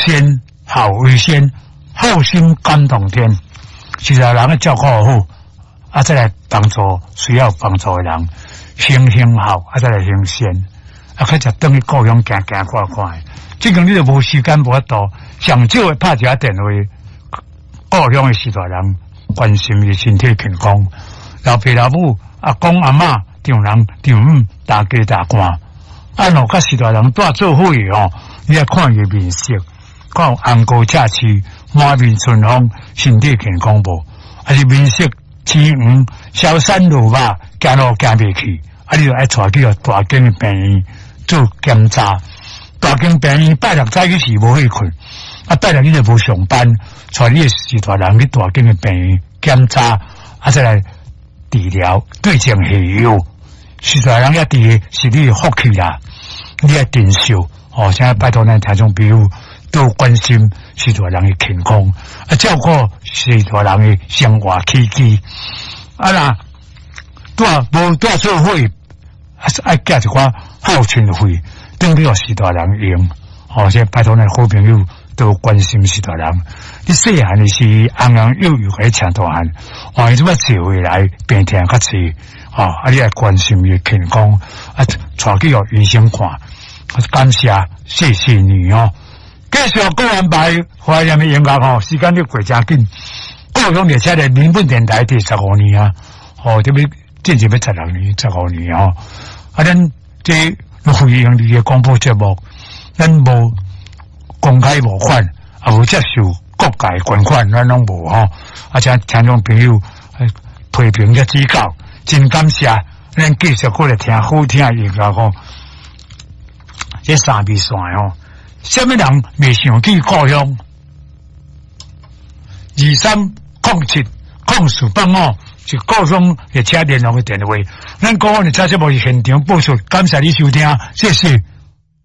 先，孝為先，孝心感動天。序大人愛照顧好，啊，再來幫助需要幫助的人，先行孝，啊，再來行善，啊，較才轉去故鄉行行看看。這間你就無時間無法度，上少會拍一下電話，故鄉的序大人關心伊身體健康，老爸老母、阿公阿嬤、丈人丈母、大家大官，啊，若佮序大人蹛做伙吼，你愛看伊面色，看有紅膏赤鬚、滿面春風，身體健康無？還是面色青黃、消瘦落肉，行路行袂去，啊，你就愛帶去大間的病院做檢查。大間病院拜六早起是無去睏，啊，拜六你就無上班，帶你的序大人去大間的病院檢查，啊，再來治療，對症下藥。序大人遐治是你的福氣啦，你愛珍惜哦。現在拜託咱聽眾朋友多關心序大人的健康，啊，照顧序大人的生活起居。啊若蹛無蹛做伙，還是愛寄一寡孝親費，轉予序大人用。哦，這拜託咱好朋友多關心序大人。你細漢的時，尪尪幼幼共你請大漢，哦，伊這擺坐回來病痛較濟，哦，啊，你愛關心伊健康，啊，帶去予醫生看，感謝，謝謝你哦。繼續講安排懷念的音樂吼，時間咧過誠緊。故鄉列車的民本電台第十五年啊，哦，這欲進入欲16年，十五年哦。啊，咱這非營利的廣播節目，咱無公開募款，也無接受各界捐款，咱攏無吼。啊，請聽眾朋友批評佮指教，真感謝。咱繼續過來聽好聽的音樂吼。這三味線吼，啥物人袂想去故鄉？23070485是故鄉列車聯絡的電話。咱故鄉列車節目是現場播出，感謝你收聽，謝謝。